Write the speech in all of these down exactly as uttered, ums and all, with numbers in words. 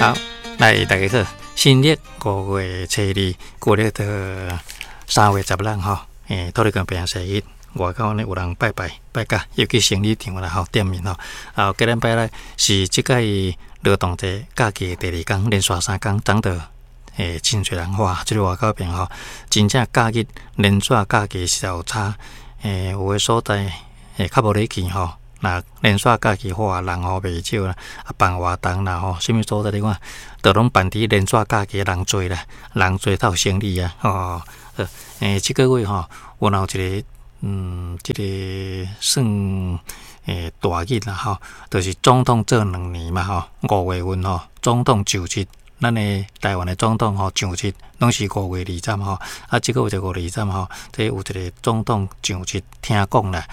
好，來大家好，新曆五月初二，舊曆的三月十六吼，欸，土地公平生日，外口呢有人拜拜拜甲，又去生理場啦吼，店面吼。啊，過禮拜咧是這屆勞動節假期的第二工，連續三工，昨就欸真濟人哇，這個外口邊吼，真正假日連續假期實在有差，欸，有的所在欸較無咧去吼。若連續假期哇，人吼袂少啦，啊辦活動啦吼，啥物所在你看，都攏辦佇連續假期人濟啦，人濟才有生意啊，吼。好，欸，這個月吼，有若有一個嗯，這個算欸大日啦吼，就是總統做兩年嘛吼，五月份吼，總統就職，咱的台灣的總統吼就職，攏是五月二十吼，啊，這個月就五月二十吼，這有一個總統就職，聽講啦，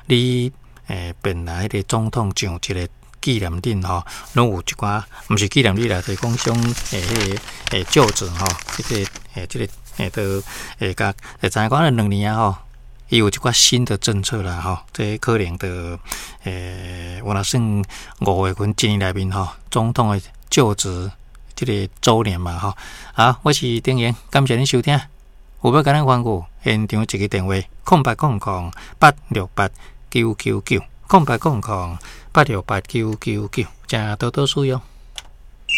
你。欸，本來彼個總統上一個紀念日吼，攏有一寡，毋是紀念日啦，就是講像欸彼個欸就職吼，這個欸這個欸都會共會知影講兩年啊吼，伊有一寡新的政策啦吼，這可能就欸有若算五月份一年內面吼，總統的就職這個週年嘛吼。好，我是丁妍，感謝恁收聽，有欲共咱反映，現場一支電話：空八空空八六八九九九，空八空空八六八九九九，請多多使用。